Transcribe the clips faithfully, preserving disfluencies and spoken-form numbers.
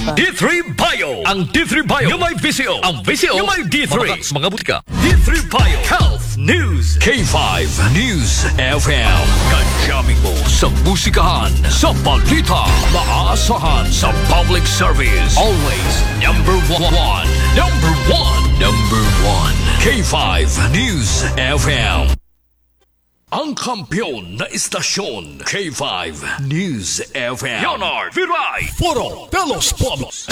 D three Bio. Ang D three Bio nga may V C O. Ang V C O nga may D three. Mga, mga butika. D three Bio Health News. K five News F M. Kadyamin mo sa musikahan, sa balita, maasahan sa public service. Always number one. Number one. Number one. K five News F M. Ang kampiyon na istasyon, K five News F M. Leonard Viray. Foro de los Pueblos.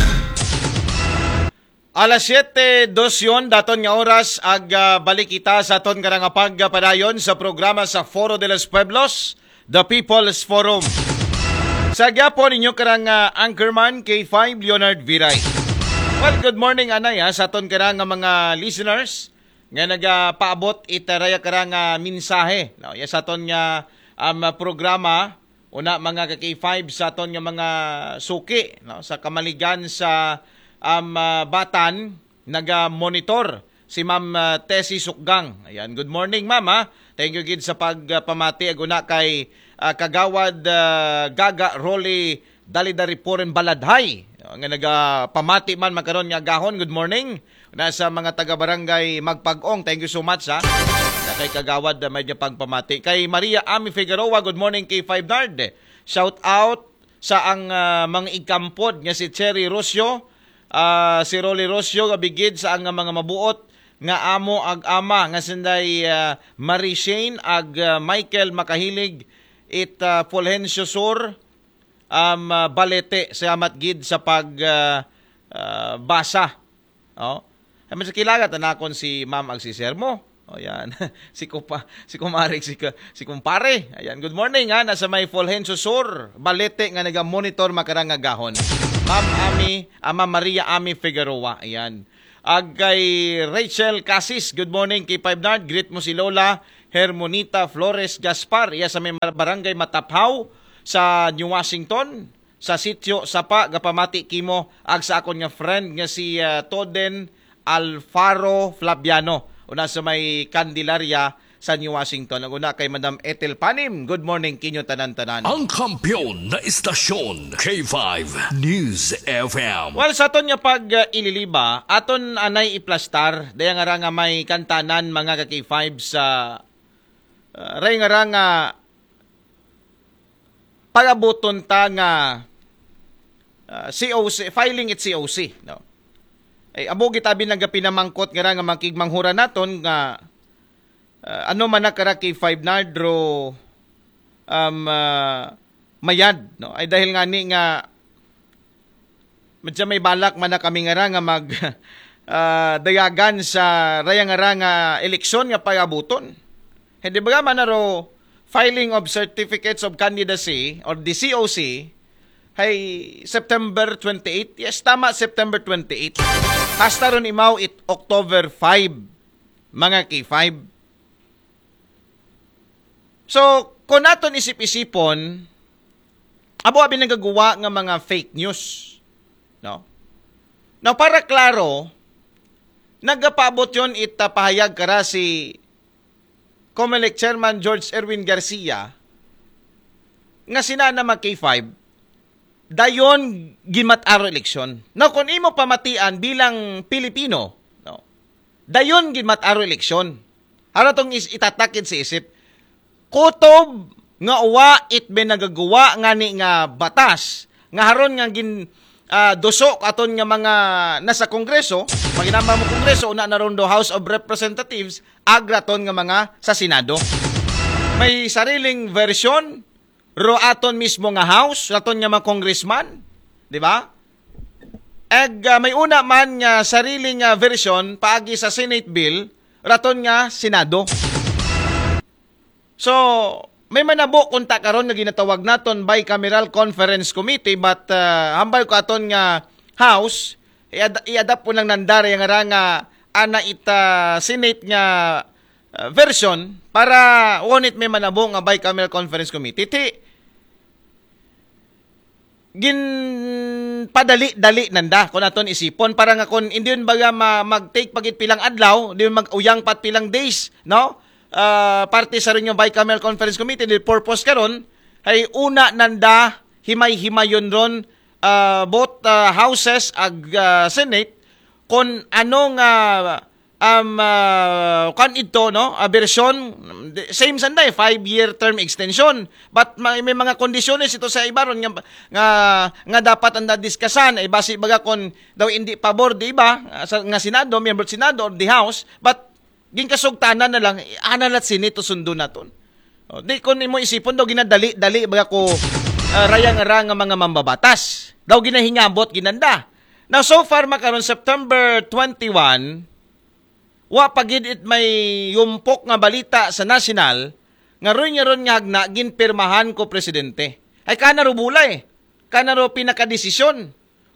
Alas siyete dos yon daton nga oras, ag ah, balik kita sa aton karang pagpadayon sa programa sa Foro de los Pueblos, The People's Forum. Sa gyapon, inyo karang ah, anchorman, K five Leonard Viray. Well, good morning, anay, ha, sa aton karang mga listeners nga nagapaabot ita raya karang ah, mensahe, no? Ya sa aton nga um, programa, una, mga ka K five, sa aton nga mga suki, no, sa kamaligan sa um, ah, Batan, naga-monitor si Ma'am ah, Tessie Sukgang. Ayan, good morning, Ma'am, ha. Thank you gid sa pagpamati, ag una kay ah, Kagawad ah, Gaga Rolly Dalidaripuren Baladhay, no, nga nagapamati man makaron nga agahon. Good morning. Na sa mga taga Barangay Magpag-ong, thank you so much, ha. Na kay Kagawad, ah, may niya pagpamati. Kay Maria Ami Figueroa, good morning, K five Nard. Shout out sa ang ah, mga igkampod nga si Cherry Rocio, ah, si Rolly Rocio, gabigid sa ang mga mabuot nga amo ag ama nga sinday ah, Marie Shane ag ah, Michael Makahilig it ah, Fulgencio Sur, um, ah, Balete. Salamat gid sa pag ah, ah, basa. Oh. Ay, man sa kilagat na nakon si Ma'am ag si Sir mo. O yan. Si kupa, si kumare, si, ka- si kumpare. Ayan, good morning, ha. Nasa may Fulgencio Sur, Balete, nga naga-monitor makarang agahon. Ma'am Ami, ah, Ma'am Maria Ami Figueroa. Ayan. Ag kay Rachel Casis, good morning, K five Nard. Greet mo si Lola Hermonita Flores Gaspar. Iya sa may Barangay Mataphaw sa New Washington, sa Sitio Sapa, gapamati kimo ag sa akon nga friend nga si ah, Toden Alfaro Flabiano, una sa may Candelaria sa New Washington. Ag una kay Madam Ethel Panim, good morning kinyo tanan-tanan. Ang kampiyon na istasyon, K five News F M. Well, sa aton nga pag-ililiba, aton anay iplastar, daya nga ra nga may kantanan, mga ka K five, sa ah, ray nga ra nga pagabuton ta nga ah, C O C, filing it C O C, no? Ay, amo gitabi nagapinamangkot nga ra nga makigmanghura naton nga ah, ano man na kara K five Nard, ro um, ah, mayad, no? Ay dahil nga ni nga medyo may balak man na kami nga ra nga mag ah, dayagan sa raya nga ra nga eleksyon nga pagabuton. Hindi ba man na ro filing of certificates of candidacy or the C O C hay September twenty-eight? Yes, tama, September twenty-eight. Hasta ron imaw it October five, mga K five. So, kung naton isip-isipon, abo abi nagaguwa nga mga fake news, no? Now, para klaro, nagapaabot yon it ah, pahayag kara si Comelec Chairman George Erwin Garcia nga sina na mag K five, dayon ginmat-aro eleksyon. Now, kung imo pamatian bilang Pilipino, no, dayon ginmat-aro eleksyon. Haro tong is itatakid sa isip. Kutob nga uwa it may nagaguwa nga ni nga batas nga haron nga gin ah, duso aton nga mga nasa Kongreso, maginama mo Kongreso, una na ron do House of Representatives, agraton nga mga sa Senado. May sariling version ro aton mismo nga House, raton nga mga congressman, di ba? Ag ah, may una man nga sariling ah, version paagi sa Senate bill, raton nga Senado. So, may manabo kunta karon nga ginatawag naton bicameral conference committee, but ah, hambal ko aton nga House, i-ad- i-adapt po ng nandara yung nga ana ita Senate nga ah, version para won't may manabo nga bicameral conference committee. Ti, ginpadali-dali nanda kung aton isipon para nga kung hindi yun baga ma- mag-take pagit pilang adlaw, di yun mag-uyang pat pilang days, no? Ah, parte sa rin yung bicameral conference committee, the purpose karon ay una nanda himay-himayon ron ah, both, ah, houses ag, ah, Senate, kon ano nga, um, ah, kan ito, no? Ah, bersyon, same sanda eh, five-year term extension. But may, may mga kondisyones ito sa ibaron nga, nga, nga dapat ang dadiskasan, ay basi baga kon daw hindi pabor, di ba? Ah, sa, nga Senado, miyembro sa Senado or the House, but ginkasugtanan na lang, ana lat Senate to sundo naton. O, di kon imo isipon daw ginadali-dali baga ko, ah, rayang-rang nga mga mambabatas. Daw ginahingabot ginanda. Now, so far, makaron September twenty-one, wa pa gid it may yumpok nga balita sa nasyonal nga ron nga ron nga hagna ginpirmahan ko presidente. Ay kana ro bulay, kana ro pinakadesisyon.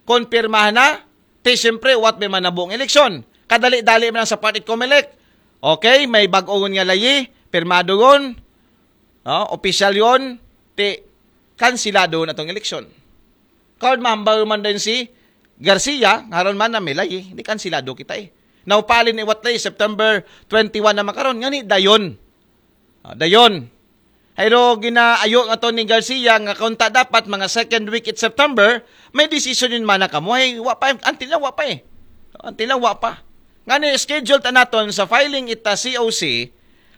Konpirmahan na, ti siyempre, what may manabo ang eleksyon. Kadali-dali man lang sa part it Comelec. Okay, may bag-o nga layi, pirmado yon, no? Opisyal yon, ti kansilado na tong eleksyon. Karon mambaw man din si Garcia, ngaron man na may layi, di kansilado kita eh. Naupalin iwat layi, September twenty-one na makaron, ngani dayon. Ah, dayon. Hayro ginaayo nga to ni Garcia nga kunta dapat mga second week it September, may decision yun man na kamo. Ay, wa pa, until now, wa pa eh. Until now, wa pa. Nga ni schedule ta naton sa filing ita C O C,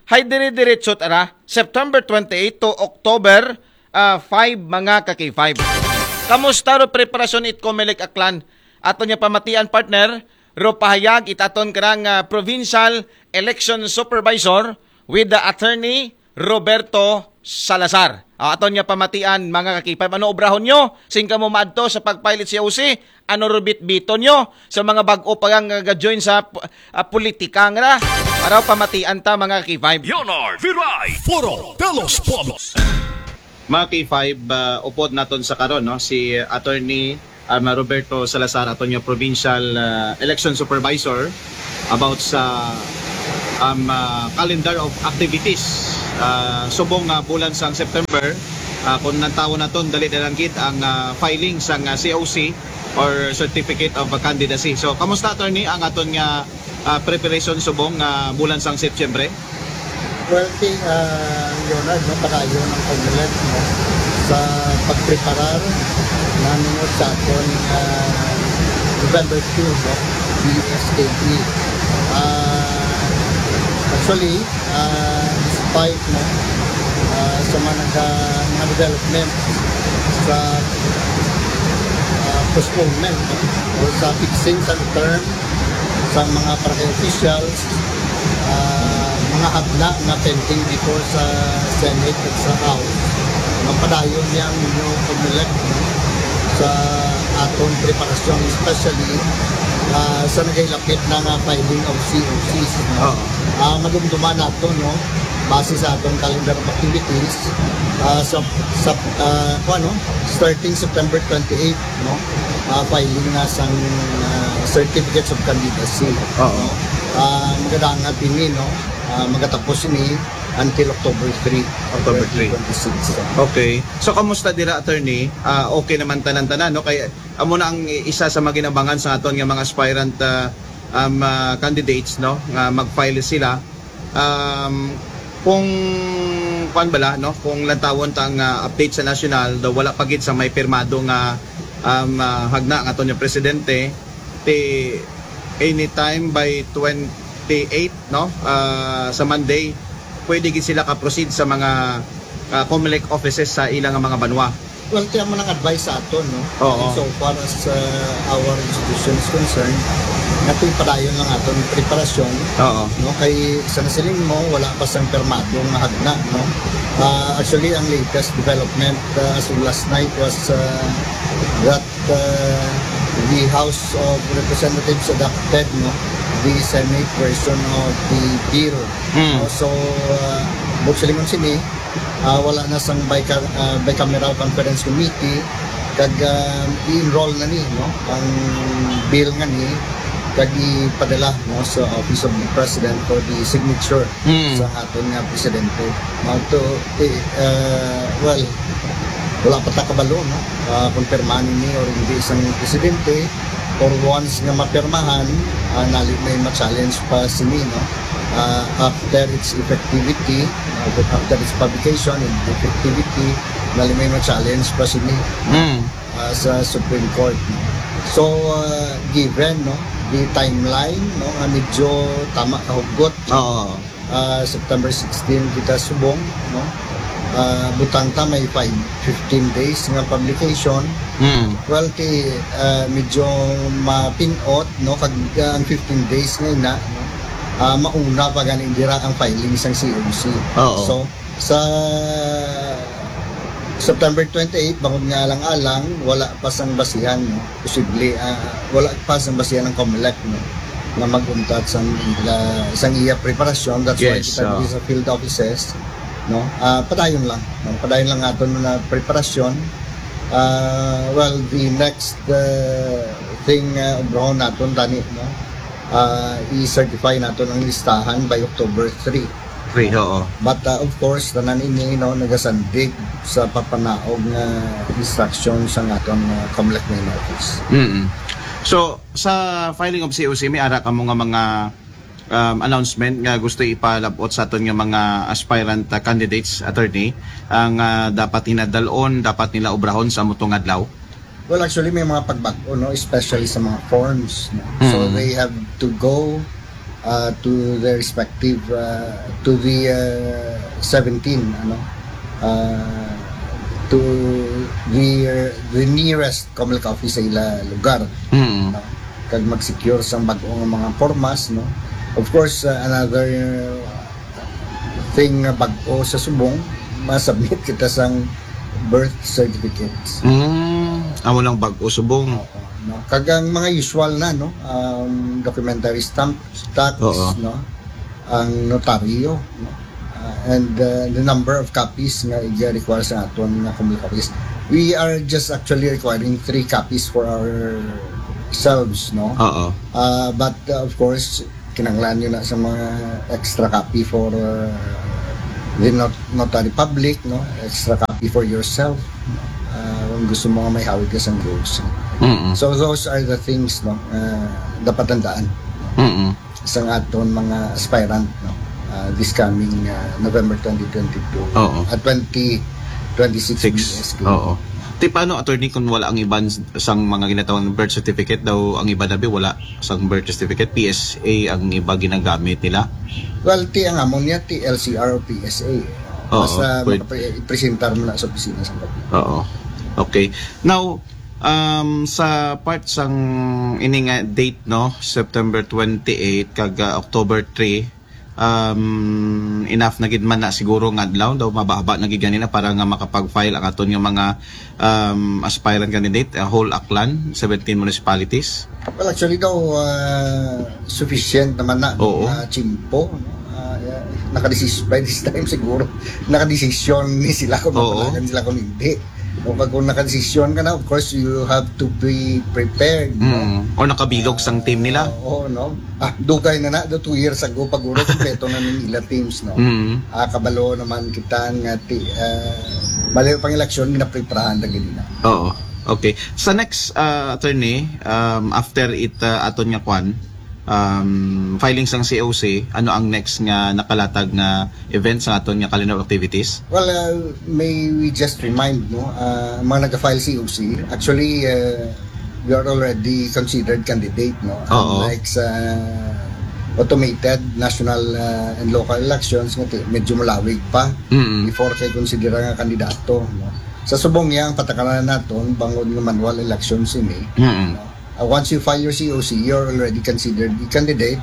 hay dire-diretso tara, September twenty-eight to October, ah, five, mga ka-K five. Kamusta ro preparasyon it Comelec Aklan? Ato niya pamatian, partner, ro pahayag itaton karang, ah, provincial election supervisor with the attorney Roberto Salazar. Ah, aton niya pamatian, mga ka-K five. Ano obrahon nyo? Sing kamo maadto sa pag-file it C O C? Ano rubit-biton nyo sa mga bag-o pa nga ga-join sa pu-, ah, politika nga? Araw pamatian ta, mga ka-K five. Leonard Viray, Foro de los Pueblos. Mga K five, ah, upod naton sa karon, no, si Attorney, um, Roberto Salazar, aton nga provincial, ah, election supervisor, about sa, um, ah, calendar of activities, ah, subong nga bulan sang September, ah, kung nantawon naton, dali na lang gid ang, ah, filing sang, ah, C O C or Certificate of Candidacy. So, kamusta, Attorney, ang aton nga, ah, preparation subong nga bulan sang September? Well, ti, ah, Leonard, no, padayon ang Comelec, no, sa pagpreparar namingot sa aton, ah, November two, no, B S K P. Ah, actually, ah, despite, no, ah, sa mga, mga development sa, ah, postponement, no, o sa fixing sa term sa mga barangay officials, ah, mga hagna nga pending before sa Senate at sa House, mapadayon niya ang inyo pag-elect, no, sa aton preparasyon, especially, ah, sa nagailapit na nga filing of C O Cs, no? Oo. Ah, madumduman nato, no, base sa atong calendar of activities, ah, sa, sa, ah, kuwan, no, starting September twenty-eight, no, ah, filing na sang, ah, certificates of candidacy, Oo. no? Ah, magadangag ini, no? Ah, magatapos ini until October three, October three. twenty twenty-six. Okay. So, kamusta dira, attorney? Ah, okay naman tanan-tanan, no? Kay amo na ang isa sa mga ginabangan sa aton nga mga aspirant, ah, um, ah, candidates, no, nga mag-file sila. Um, kung, kuan bala, no, kung lantawon ta ang, ah, update sa national, daw wala pa gid sa may pirmado nga, um, ah, hagna nga aton nga presidente, ti anytime by twenty-eight, no, ah, sa Monday, pwede gid sila ka-proceed sa mga, ah, Comelec offices sa ilang mga banwa. Well, kaya mo nang advice sa aton, no? Oo. So far as, uh, our institution is concerned, nga ito'y padayon lang aton preparasyon, Oo. no? Kay sa nasiling mo, wala pa sang permado nga hagna, no? Uh, actually, ang latest development, uh, as of last night was, uh, that, uh, the House of Representatives adopted, no, the Senate version of the bill. Mm. No? So, uh, bukod sa lingon sini, ah, wala na sang bica-, ah, bicameral conference committee, kag, ah, i-enroll na ni, no, ang bill nga ni, kag ipadala, no, sa Office of the President for the signature Mm. sa aton nga presidente. Mao to, eh, ah, well, wala pa ta kabalo, no, ah, kung pirmahan ini or hindi sang presidente, or once nga mapirmahan, ah, nali may ma-challenge pa sini, no? Ah, after its effectivity, ah, after its publication and effectivity, nali may ma-challenge pa sini. Mm. ah, sa Supreme Court, no? So, ah, given, no, the timeline, no, nga medyo tama ka hugot, Oo. ah, September sixteen kita subong, no? Ah, butang ta may five, fifteen days nga publication. Mm. Well, ti, ah, medyo mapinot, no, kag, ah, ang fifteen days nga ina, no, ah, mauna pa gani dira ang filing sang C O C. Oo. So, sa September twenty-eight, bangod nga alang-alang, wala pa sang basihan, no? Posible, ah, wala pa sang basihan ang Comelec, no? Nga mag-untat sang ila, sang iya preparasyon. That's why Yes, kita oo. diri sa field offices, no? Ah, padayon lang, no? Padayon lang aton na preparasyon. Ah, well, the next, uh, thing, uh, obrahon naton tani, no? Ah, i-certify naton ang listahan by October three. Three, oo. But, uh, of course, tanan ini, no, nagasandig sa papanaog nga instruction sang aton, uh, Comelec main office. Mm. So, sa filing of C O C, may ara kamo nga mga um, announcement nga gusto ipalabot sa aton nga mga aspirant, uh, candidates, attorney, ang, uh, dapat hinadalon, dapat nila obrahon sa amo tong adlaw? Well, actually, may mga pagbag-o, no? Especially sa mga forms, no? So, Mm. they have to go, uh, to their respective, uh, to the, uh, seventeen, ano? Uh, to the, the nearest Comelec office sa ila lugar. Mm. No? Kag mag-secure sang bag-o nga mga pormas, no? Of course, uh, another thing nga bag-o sa subong, ma-submit kita sang birth certificates. Mm. Amo lang bag-o subong. No? Kag ang mga usual na, no? Um, documentary stamp, tax, Oo. no? Ang notaryo, no? Uh, and, uh, the number of copies nga i-require sa aton nga Comelec office. We are just actually requiring three copies for ourselves, no? Oo. Uh, but, uh, of course, kinahanglan nyo na sa mga extra copy for, uh, the not notary public, no? Extra copy for yourself, no? Uh, kung gusto mo nga may hawid ka sa ghost. Mm. So those are the things, no? Uh, dapat tandaan Mm. sa aton mga aspirant, no? Uh, this coming, uh, November twenty twenty-two, Oo. at twenty twenty-six Six. B S K. Oo. Ti paano, attorney, kung wala ang iban sang mga ginatawag birth certificate daw, ang iba dabi wala sang birth certificate, P S A ang iba ginagamit nila? Well, ti ang amon niya, ti L C R o P S A. Oo, Basta pwede. Makapre-, presentar mo na sa opisina sa government. Oo. Okay. Now, um, sa part sang ini nga date, no, September twenty-eight kag, uh, October three, um, enough na gid man na siguro nga adlaw daw, mababa na gid ganina para nga makapag-file ang aton nga mga, um, aspirant candidate, uh, whole Aklan, seventeen municipalities. Well, actually daw, uh, sufficient naman na, Oo. Uh, tiyempo, no? Uh, yeah, nakadesisyon by this time siguro. Nakadesisyon ni sila kung Oo. mapanagan sila kung hindi. O pag kung nakadesisyon ka na, of course, you have to be prepared, no? Mm. Or nakabilog sang team nila. Oo, no? Ah, dugay na na, do two years ago, paguro, kompleto na ning ila teams, no? Mm. Ah, kabalo naman kita nga ti, ah, bali pang eleksyon, ginapreparahan lagi nila. Oo. Okay. Sa next, uh, attorney, um, after it, uh, aton nga kwan, um, filing sang C O C, ano ang next nga nakalatag nga event sa aton nga calendar of activities? Well, uh, may we just remind, no, uh, ang mga nag-file C O C, actually, uh, we are already considered candidate, no? Oo. Unlike sa automated national, uh, and local elections, nga ti-, medyo malawig pa Mm. before kay konsidera nga kandidato, no? Sa subong niya, ang patakaran naton, bangod nga manual elections ini, Mm. no? Uh, once you file your C O C, you're already considered a candidate.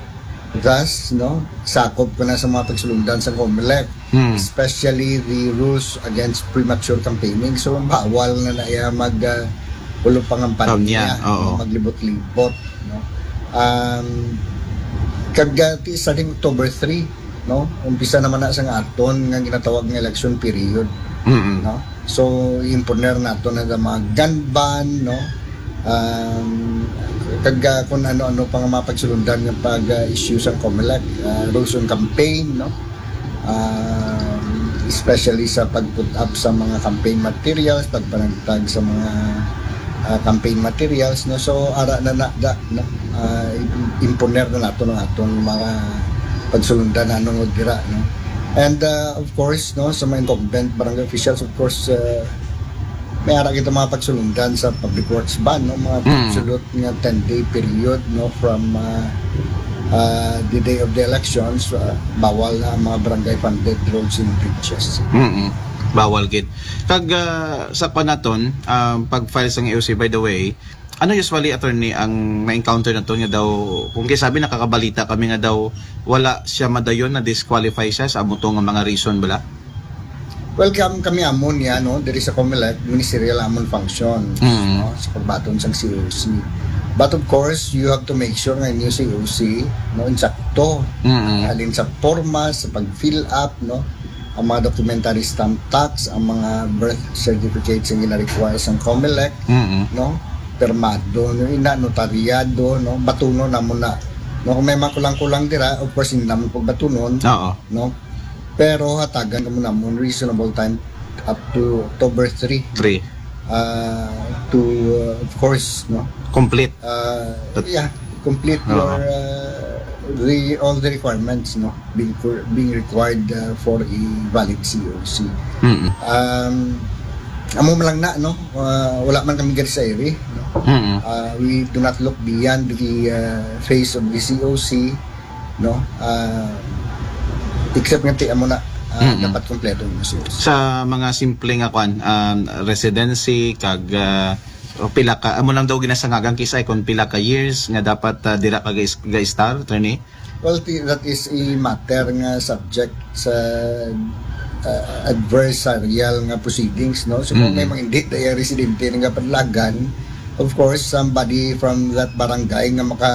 Thus, no, sakop ka na sa mga pagsulundan sa Comelec, Mm. especially the rules against premature campaigning. So, bawal na na iya mag, uh, ulo pangampanya, Kampanya, oo. maglibot-libot, no? Um, kag, uh, ti-, starting October three, no? Umpisa naman na sa nga aton nga ginatawag nga election period, Mm. no? So, imponer nato na sa mga gun ban, no? Um, kag, uh, kung ano-ano pa nga mga pagsulundan nga pag, uh, issue sa Comelec, uh, rules on campaign, no? Um, especially sa pag-put up sa mga campaign materials, pagpanagtag sa mga, uh, campaign materials, no? So, ara na na da, no? Uh, imponer na nato ng aton mga pagsulundan na nung dira, no? And, uh, of course, no, sa mga incumbent barangay officials, of course, uh, May ara kita mga pagsulundan sa public works ban, no? Mga Mm. Absolute nga ten-day period, no? From uh, uh, the day of the elections, uh, bawal na ang mga barangay funded roads and bridges. Mm-mm. Bawal gid. Kag ah, sa kuan naton, ah, pag-file sa E O C, by the way, ano usually, attorney, ang na-encounter naton nga daw, kung kay sabi, nakakabalita kami nga daw wala siya madayon, na-disqualify siya sa amo to nga mga reason bala? Well, kam kami amon niya, no? Diri sa COMELEC, ministerial amon function, Mm. no? Sa pagbaton sa C O C. But of course, you have to make sure nga inyo C O C, no? Insakto. Mm. Halin sa porma, sa pag-fill up, no? Ang mga documentary stamp tax, ang mga birth certificates ang gina-require sa COMELEC, Mm. no? Permado, no? Ina, notaryado, no? Batunon namo na. No, kung may mga kulang-kulang dira, of course, hindi naman pagbatunon, Oo. no? Pero hatagan kamo namon reasonable time up to October three. Three. Uh, to, uh, of course, no? Complete. Uh, yeah, complete Oo. your, uh, the, all the requirements, no? Being, cur- being required uh, for a valid C O C. Mm. Um, amo man lang na, no? Uh, wala man kami gari sa iri, no? Mm. Uh, we do not look beyond the uh, phase of the C O C, no? Uh, except nga ti amo na uh, Mm-mm. dapat kompleto yung C O C. Sa mga simple nga kuan, um, residency, kag ah, o pila ka, amo lang daw ginasangagan, kisay, kung pila ka years nga dapat ah, dira ka ga-, ga-estar, attorney? Well, ti- that is a matter nga subject sa uh, adversarial nga proceedings, no? So, kung Mm. may mga hindi daya residente nga padlagan, of course, somebody from that barangay nga maka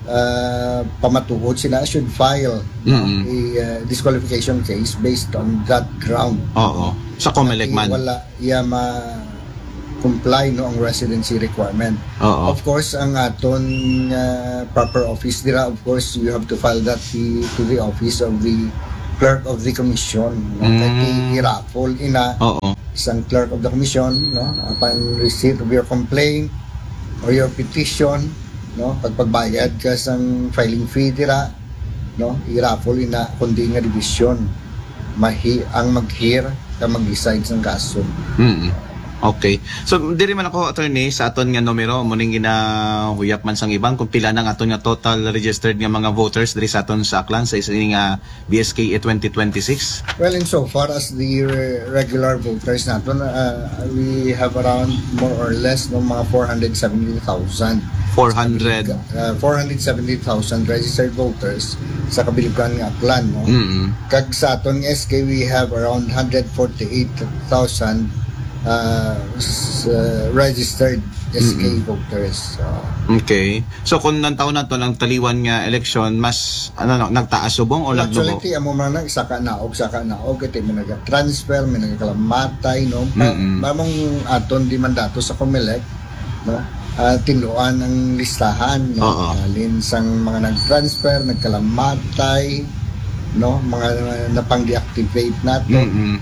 uh, pamatuod sila should file, no? Mm. A uh, disqualification case based on that ground. Oo. Sa COMELEC man. Wala iya ma comply, no, ang residency requirement. Oo. Of course, ang aton uh, proper office dira, of course, you have to file that the, to the office of the clerk of the commission, no? Mm. Kay i-raffle ina Oo. sang clerk of the commission, no? Upon receipt of your complaint or your petition, no? Pagpagbayad ka sang filing fee dira, no? I-raffle ina kundi nga division mahi ang mag-hear ka mag-decide sang kaso. Mm. Okay. So, diri man ako, attorney, sa aton nga numero, muning ginahuyap man sang iban kung pila nang aton nga total registered nga mga voters diri sa aton sa Aklan sa isa nga B S K A twenty twenty-six. Well, in so far as the re- regular voters naton, uh, we have around more or less no mga four hundred seventy thousand. Four hundred. Uh, four hundred seventy thousand registered voters sa kabilugan nga Aklan, no? Mm. Kag sa aton nga S K, we have around one hundred forty-eight thousand uh, s- uh, registered S K Mm-mm. voters. So, Okay. So kung nantaw naton ang taliwan nga eleksyon, mas ano, no, nagtaas subong o actually, nagnubo? Ti amo man na, saka naog, saka naog, iti may nag-transfer, may nagkalamatay, no? Pa, Mm-mm. Mamong aton di man dato sa COMELEC, no? Ah, tinluan ang listahan, no? Oo. Halin sang mga nag-transfer, nagkalamatay, no? Mga napang-deactivate nato. Mm-mm.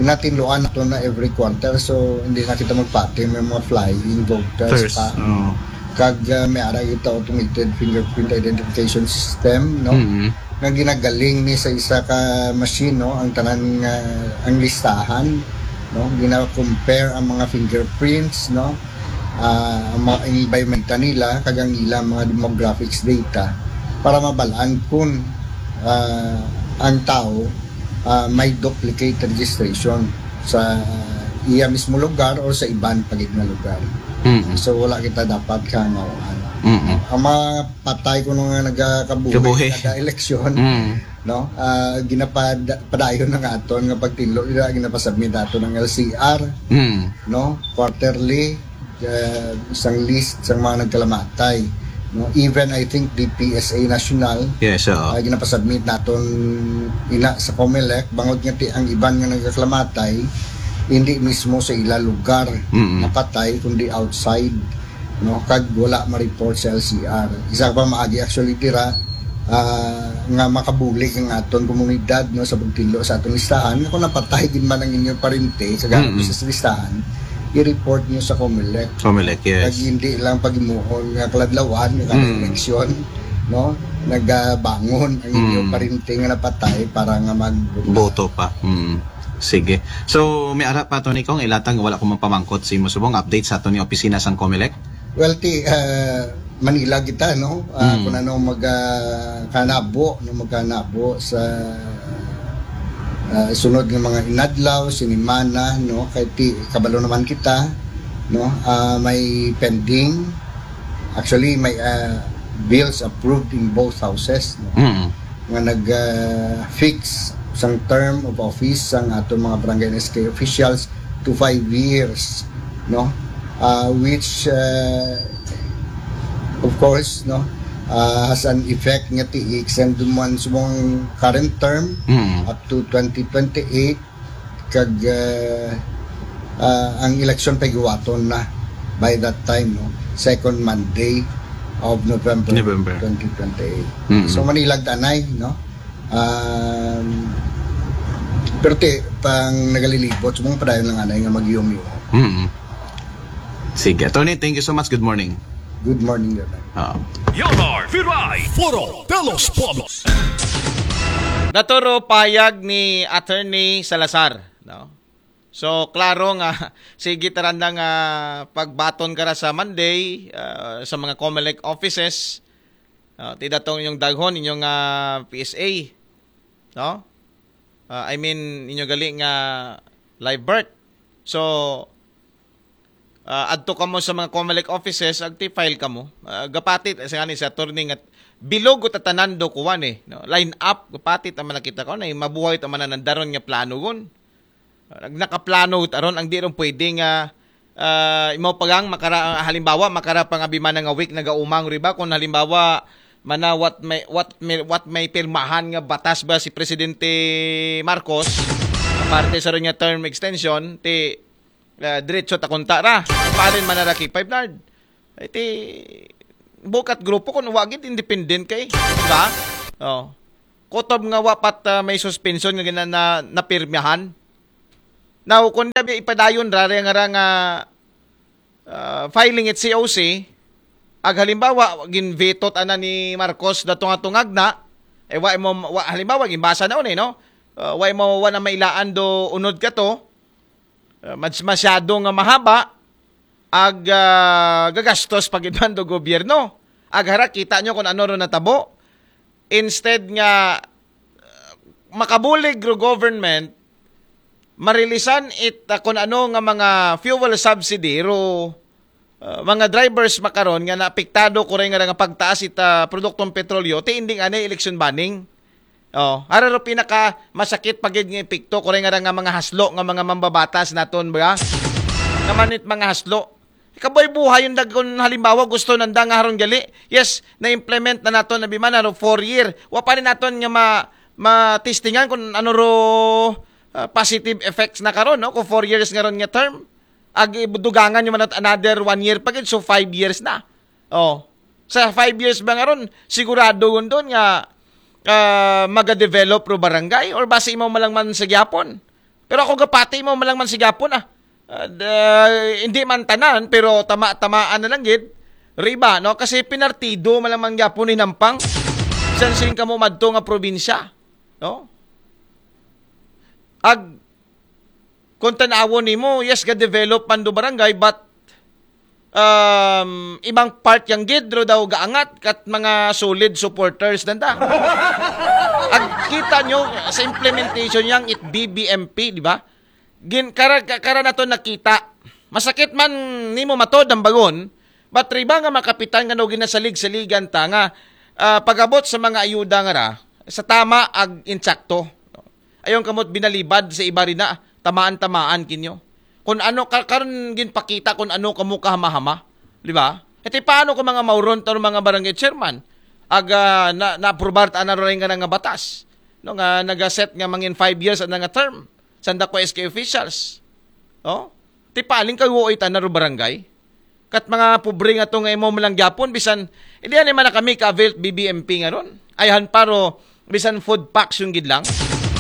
Natinluan nato na every quarter, so hindi na kita magpati may mga flying voters First. pa. Oo. Kag uh, may ara kita automated fingerprint identification system, no? Mm-mm. Nga ginagaling ni sa isa ka machine, no? Ang tanan nga, ang listahan, no? Gina-compare ang mga fingerprints, no? Ah, ang mga environment nila, kag ang ilang mga demographics data para mabalaan kung ah, ang tao ah, may duplicate registration sa iya mismo lugar or sa iban pagid nga lugar. Mm-mm. So wala kita dapat kangawaan. Mm-mm. Ang mga patay kuno nga nagakabuhi Kabuhi. kada eleksyon, Mm. no? Ah, ginapad padayon na nga aton nga pagtinlo nila, ginapasubmit ato ng L C R, Mm. no? Quarterly, uh, isang list sa mga nagkalamatay, no? Even, I think, the P S A National, Yes, oo. uh, ginapasubmit naton ina sa COMELEC, bangod nga ti ang iban nga nagkalamatay hindi mismo sa ila lugar Mm-mm. napatay, kundi outside, no? Kag wala ma-report sa L C R. Isa pa maagi actually dira, ah, nga makabulig ang aton komunidad, no, sa pagtinlo sa aton listahan. Nga kung napatay din man ang inyong parente, kagano Mm-mm. sa listahan, i-report nyo sa COMELEC. COMELEC, yes. Kag hindi lang pagimuon nga kaladlawan, nga kada Mm. eleksyon, no, nagabangon ang inyong Mm. parente nga napatay para nga mag Boto pa. Mm. Sige. So, may ara pa, Attorney, kung ilatag, wala ko mapamangkot sa imo subong update sa aton nga opisina sang Comelec? Well, ti, uh, Manila kita, no? Uh, Mm. Kung ano mag, uh, kanabo, no? Magkanabo sa uh, sunod nga mga inadlaw, sinimana, no? Kay ti, kabalo naman kita, no? Uh, may pending, actually, may uh, bills approved in both houses, no? Mm. Nga nag-fix sang term of office sang ato mga barangay and S K officials to five years, no? Uh, which, uh, of course, no, uh, has an effect nga ti extend man subong current term Mm. up to twenty twenty-eight, kag uh, uh, ang election pay guwaton na by that time, no? Second Monday of November, November. twenty twenty-eight. Mm. So, Manila danay, no? Um, pero ti, pang nagalilibot, subong padayon lang anay nga magyumi. Mm. Sige. Attorney, thank you so much. Good morning. Good morning, Leonard. Ah. Leonard Viray, Foro de los Pueblos. Naturo payag ni Attorney Salazar, no? So, klaro nga, sige taranda nga pagbaton ka ra sa Monday, ah, sa mga Comelec offices, ah, ti datong inyong daghon, inyong ah, P S A, no? Ah, I mean, inyo gali nga live birth. So, ah, adto kamo sa mga Comelec offices, agti file kamo. Ah, gapatit, sa nga ni sa attorney nga, bilog ko tatanando kuwan eh. No? Line up, gapatit ang nakita ko, na mabuhay ta mananandaron nga plano gun. Ah, nakaplano taron, ang di ron pwede nga, ah, imaw pagang makara, halimbawa, makara pang abimana nga week nagaumang, riba? Kung halimbawa, mana what may, what may, what may pirmahan nga batas ba si Presidente Marcos, parte sa ron nga term extension, ti, ah, diretso ta kunta ra. Palin man na ra kay Five Nard. Ay, ti, bukat grupo kung wagit independent kay, di ba? Oh. Kutob nga wapat ah, may suspension nga gina na, napirmahan. Now, kung di ipadayon ra, nga ra nga ah, filing it C O C, ag halimbawa, ginvetot ana ni Marcos dato nga tungag na, eh, wa mo, wa, halimbawa, ginbasa na unay, no? Ah, wa mo, wa na mailaan do unod ka to, ah, mas, masyado nga mahaba, ag ah, gagastos pagidman do gobyerno. Ag hara, kita nyo kung ano ro natabo. Instead nga, ah, makabulig ro government, marilisan it ah, kung ano nga mga fuel subsidy ro ah, mga drivers makaron nga naapektado kuray nga nga pagtaas it ah, produktong petrolyo, ti ending anay election banning. Oh, ara ro pinaka masakit pagid nga epekto kuray nga nga mga haslo nga mga mambabatas naton ba? Naman it mga haslo. Kaboy buhay yung dagon halimbawa gusto nanda nga haron gali. Yes, na-implement na naton na bimana ro four year. Wa pa rin naton nga ma ma-testingan kung ano ro ah, positive effects na karon, no? Kung four years nga ron nga term, ag idugangan nyo man at another one year pa gid, so five years na. Oh. Sa five years ba nga ron, sigurado yun doon nga ah, maga-develop ro barangay or basi imaw malang man sa gyapon. Pero ako gapati imaw malang man sa gyapon ah. Ah, da- hindi man tanan, pero tama-tamaan na lang gid. Riba, no? Kasi pinartido man lang man gyapon ni Nampang. San sin kamo madto nga probinsya, no? Ag kung tanawon nimo, yes, ga-develop man do barangay, but um, ibang part yang gid ro daw gaangat kat mga solid supporters nanda. Ag kita nyo sa implementation yang it B B M P, di ba? Gin kara, kara nato nakita. Masakit man nimo matod ang bagon, but riba nga makapitan nga no ginasalig-saligan ta nga ah, pagabot sa mga ayuda nga ra sa tama ag insakto. Ayon kamot binalibad sa iba rin na tamaan-tamaan kinyo. Kung ano ka, karon ginpakita kung ano kamo kahama-hama, di ba? Ito paano kung mga mauron to mga barangay chairman ag ah, na naaprobar ta na rin nga nga batas, no, nga nagaset nga mangin five years ang nga term sanda ko S K officials, no? Ti paling kayo ita na ro barangay. Kat mga pobre nga to nga imo man lang gyapon bisan hindi ani man na kami ka-avail B B M P nga ron. Ayhan paro bisan food packs yung gid lang.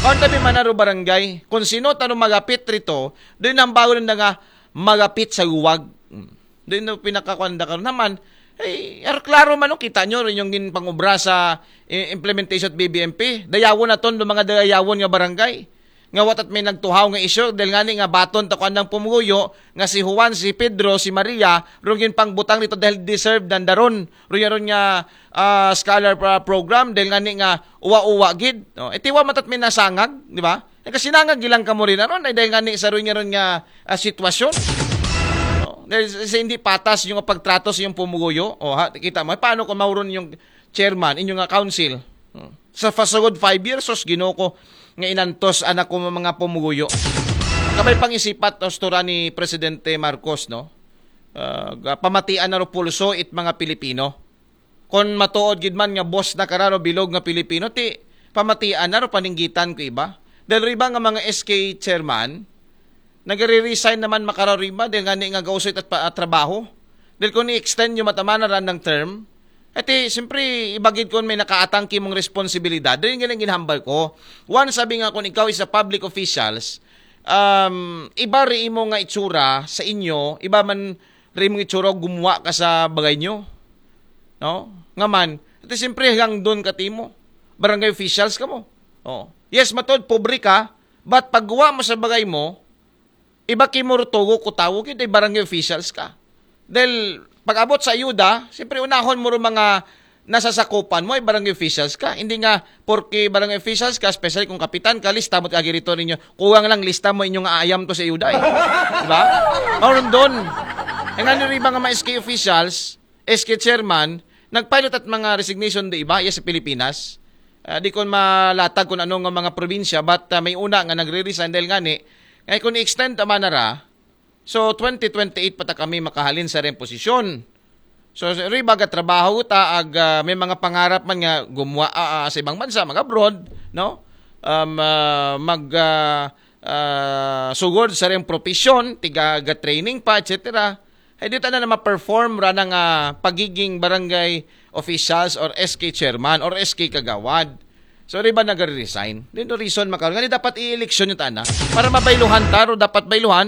Kaon tabi man na ro barangay. Kung sino tano magapit rito, doon ang bawal na nga magapit sa guwag. Hmm. Doon no pinakakuan da karon naman. Ay, er, klaro man no, kita nyo rin yung gin pangubra sa i- implementation at B B M P. Dayawon naton do mga dayawon nga barangay. nga wa tat may nagtuhaw nga issue, dahil ngani nga baton ta kuan ang pumuyo, nga si Juan, si Pedro, si Maria, rungin pang butang dito dahil deserve dandaron. Rungin ron nga ah, scholar ah, program, dahil ngani nga uwa-uwa gid. No? Itiwa matat may nasangag, di ba? Nagkasinangag gilang kamo rin aron, ay dahil ngani sa rungin ron nga ah, sitwasyon. No? Dahil sa hindi patas yung pagtrato sa yung pumuyo, o ha, kita mo, paano kung mauron yung chairman, inyong nga council? Hmm. Sa pasugod five years, sos Ginoo ko, nga inantos anak ko mga pumuyo. Kabay pangisipat, ostura ni Presidente Marcos, no? Ah, ga- pamatian na ro pulso it mga Pilipino. Kon matuod gid man nga boss na kararo bilog nga Pilipino, ti pamatian na ro paninggitan ko iba. Dahil riba nga mga S K chairman, nagre-resign naman makararo riba dahil nga ni nga gausoy at pa- trabaho. Dahil kung i-extend yung matamana ran ng term, ati, siyempre, ibagid ko may nakaatang kimong responsibilidad. Dahil nga nang ginhambal ko. One, sabi nga kung ikaw is a public officials, um, iba ri imo nga itsura sa inyo, iba man ri imong itsura gumuwa ka sa bagay nyo. No? Nga man, ati siyempre hanggang doon ka timo. Barangay officials ka mo. Oh. Yes, matod, pobre ka, but pagguwa mo sa bagay mo, iba kimo rutugo ko tawo, kaya barangay officials ka. Dahil pag-abot sa ayuda, siyempre unahon mo rin mga nasasakupan mo ay barangay officials ka. Hindi nga, porke barangay officials ka, especially kung kapitan ka, lista mo kagirito ninyo. Kuwang lang lista mo inyong aayam to sa ayuda eh. Diba? Mauron doon. E nga nyo rin mga S K officials, S K chairman, nagpilot at mga resignation di iba, iya sa Pilipinas. Ah, di ko malatag kung ano nga mga probinsya, but ah, may una nga nagre-resign dahil ngani, ngay kung i-extend tama na ra, so twenty twenty-eight pa ta kami makahalin sa reng posisyon. So, riba ga trabaho ta, ag ah, may mga pangarap man nga gumuha ah, ah, sa ibang bansa, mag-abroad, no? Um, ah, mag ah, ah, sugod sa reng profesyon, tiga ga training pa, et cetera. Ay di ta na ma-perform ra nga pagiging barangay officials or S K chairman or S K kagawad. So, riba nagre-resign. Then, no reason makaroon. Nga dapat i-election yung tana. Para mabayluhan ta, ro dapat bayluhan,